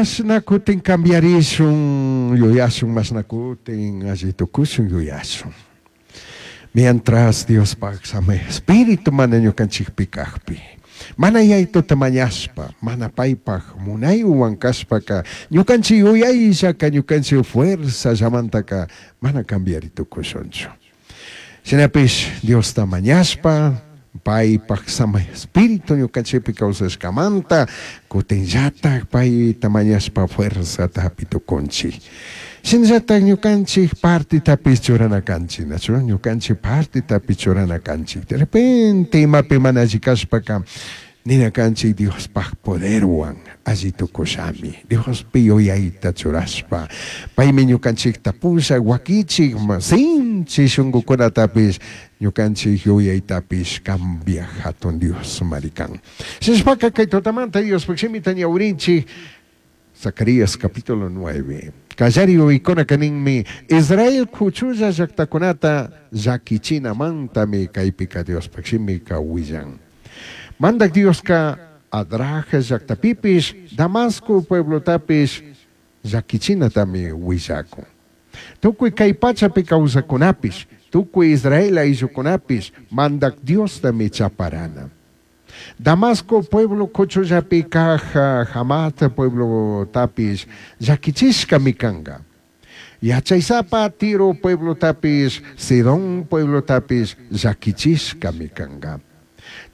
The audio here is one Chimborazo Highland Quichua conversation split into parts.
Mashna kutin cambiarishun yuyashun, mashna kutin alli tucushun yuyashun. Mientras Diospaj Samai Espíritu mana ñucanchijpi cajpi, mana Yaituta mañashpa, mana paipaj munaihuan cashpaca, ñucanchij yuyaillaca, ñucanchij fuerzallamantaca mana cambiari tucushunchu. Shinapish Diosta mañashpa, paipaj Samai Espíritu ñucanchijpi causashcamanta, cutinllataj paita mañashpa fuerzata japi tucunchij. Shinallataj ñucanchij partetapish churana canchij, nachu? Ñucanchij partetapish churana canchij. De repente imapi mana alli cashpaca nina canchij Diospaj poderhuan alli tucushami. Diospi yuyaita churashpa, paimi ñucanchijta pushaj, huaquichij, sinchi shungucunatapish ñucanchij yuyaitapish cambiaj jatun Diosmari can. Shinashpaca cai tutamanta Diospaj shimita ñahuirinchij. Zacarías capítulo 9. Callari yuyaicunaca ninmi, Israel cuchulla llactacunata llaquichinamantami caipica Diospaj shimica huillan. Mandaj Diosca Hadraj llactapipish, Damasco pueblotapish llaquichinatami huillacun. Tucui cai pachapi causacunapish, tucui Israel aillucunapish Mandaj Diostami chaparana. Damasco pueblo cuchullapi caj Hamat pueblotapish llaquichishcami canga. Yachaisapa Tiro pueblotapish, Sidón pueblotapish llaquichishcami canga.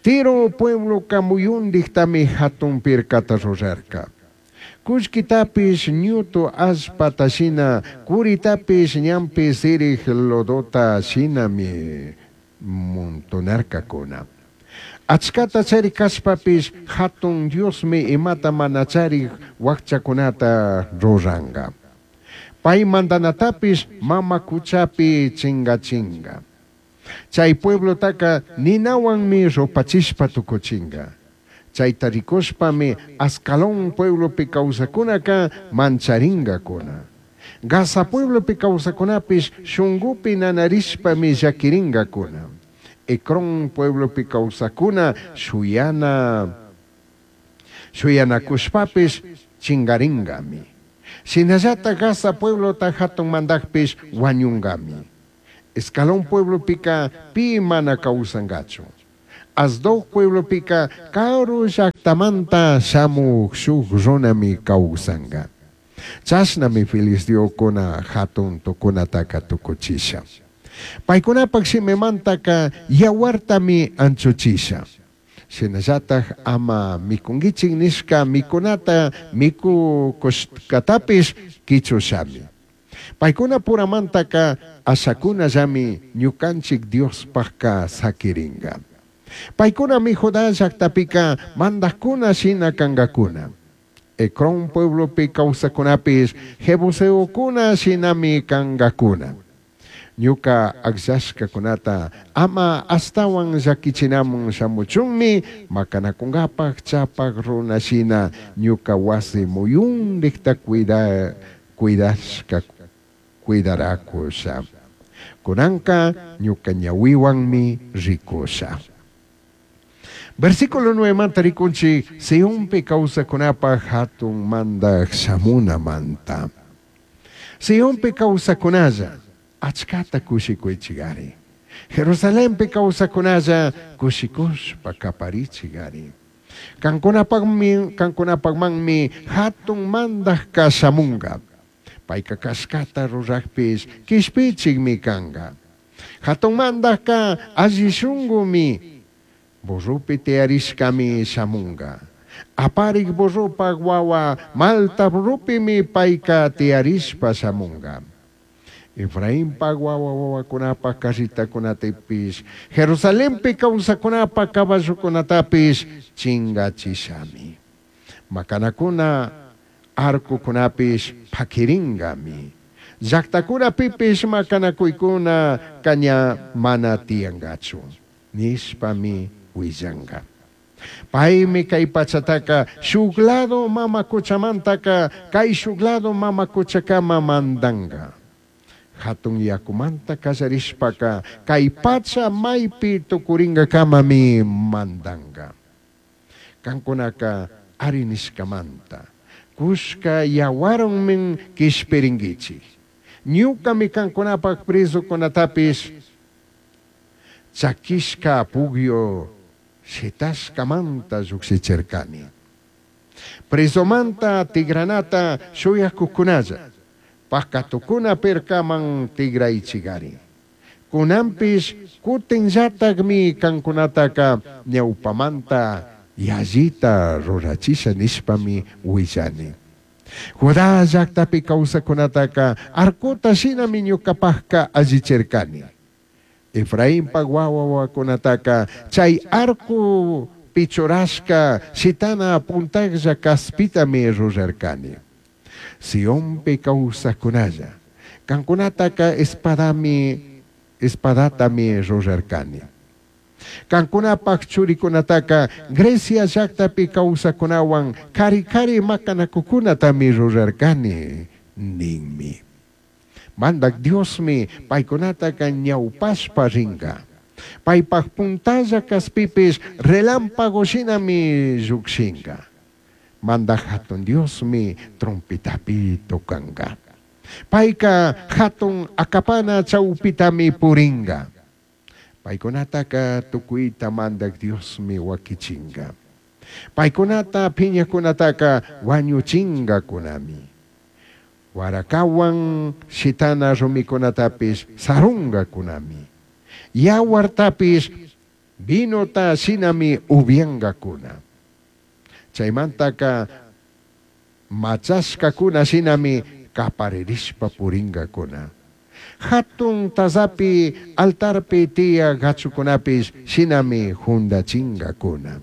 Tiro puebloca muyundijtami jatun pircata rurarca. Cullquitapish ñutu allpata shina, curitapish ñanpi sirij lodota shinami montonarcacuna. Achcata charij cashpapish Jatun Diosmi imata mana charij huajchacunata ruranga. Pai mandanatapish mama cuchapi chingachinga. Chai pueblotaca ninahuanmi rupachishpa tucuchinga. Chaita ricushpami Ascalón pueblopi causacunaca mancharingacuna. Gaza pueblopi causacunapish shungupi nanarishpami llaquiringacuna. Ecrón pueblopi causacuna shuyana shuyanacushpapish chingaringami. Shinallataj Gaza pueblota jatun mandajpish huañungami. Escalón pueblopica pi mana causangachu. Asdod pueblopica caru llajtamanta shamuj shuj runami causanga. Chashnami filisteocuna jatun tucunataca tucuchisha. Paicunapaj shimimantaca yahuartami anchuchisha. Shinallataj ama micunguichij nishca micunata micucushcatapish quichushami. Paicunapuramantaca ashacunallami ñucanchij Diospajca saquiringa. Paicunami Judá llajtapica mandajcuna shina cangacuna. Ecrón pueblopi causacunapish jebuseocuna shinami cangacuna. Ñuca agllashcacunata ama ashtahuan llaquichinaman shamuchunmi macanacungapaj chapaj runa shina ñuca huasi muyundijta cuida cuidashca cuidaracusha. Cunanca ñuca ñahuihuanmi ricusha. Versículo 9 manta ricunchij Sionpi causacunapaj jatun mandaj shamunamanta. Sionpi causacunalla achcata cushicuichigari. Jerusalenpi causacunalla cushicushpa caparichigari. Cancunapajmi cancunapajmanmi jatun mandajca shamunga. Paica cashcata rurajpish quishpichijmi canga. Jatun mandajca alli shungumi burrupi tiyarishcami shamunga. Aparij burrupaj huahua malta burrupimi paica tiyarishpa shamunga. Efrainpaj huahua huahuacunapaj carretacunatapish, Jerusalenpi causacunapaj caballocunatapish chingachishami. Macanacuna arcocunapish paquiringami. Llajtacunapipish macanacuicuna ña mana tiyangachu. Nishpami huillanga. Paimi cai pachataca shuj lado mama cuchamantaca caishuj lado mama cuchacama mandanga. Jatun yacumanta callarishpaca cai pacha maipi tucuringacamami mandanga. Cancunaca ari nishcamanta. Cushca yahuarhuanmi quishpiringuichij. Ñucami cancunapaj prezucunatapish chaquishca pugyu shitashcamanta llujshichircani. Prezumanta tigranata shuyacujcunalla, pacatucuna pircaman tigraichigari. Cunanpish cutinllatajmi cancunataca ñaupamanta yallita rurachisha nishpami huillani. Judá llajtapi causajcunataca arcota shinami ñucapajca allichircani. Efrainpaj huahua huahuacunataca chai arco pichurashca shitana puntajlla caspitami rurarcani. Sionpi causajcunalla, cancunataca espadami, espadatami rurarcani. Cancunapaj churicunataca Grecia llajtapi causajcunahuan cari cari macanacucunatami rurarcani ninmi. Mandaj Diosmi paicunataca ñaupashpa ringa. Paipaj puntalla caspipish relámpago shinami llujshinga. Mandaj Jatun Diosmi trompetapi tocanga. Paica jatun acapana chaupitami puringa. Paicunataca tucuita Mandaj Diosmi huaquichinga. Paicunata piñajcunataca huañuchingacunami. Huaracahuan shitana rumicunatapish sarungacunami. Yahuartapish vinota shinami ubyangacuna. Chaimantaca machashcacuna shinami caparirishpa puringacuna. Jatun tazapi altarpi tiyaj gachucunapish shinami jundachingacuna.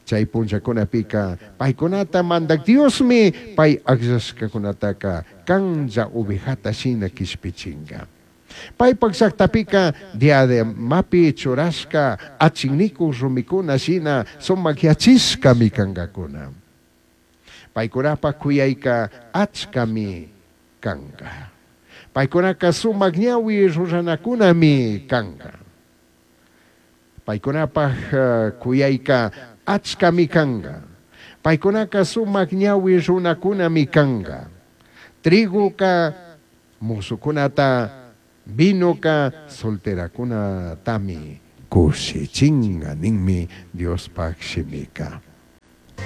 Chai punllacunapica paicunata Mandaj Diosmi pai agllashcacunataca canlla ovejata shina quishpichinga. Paipaj llajtapica diademapi churashca achinicuj rumicuna shina sumajyachishcami cangacuna. Paicunapaj cuyaica achcami canga. Paicunaca sumaj ñahui ruranacunami canga. Paicunapaj cuyaica achcami canga. Paicunaca sumaj ñahui runacunami canga. Trigoca musucunata, vinoca solteracunatami cushichinga ninmi Diospaj shimica.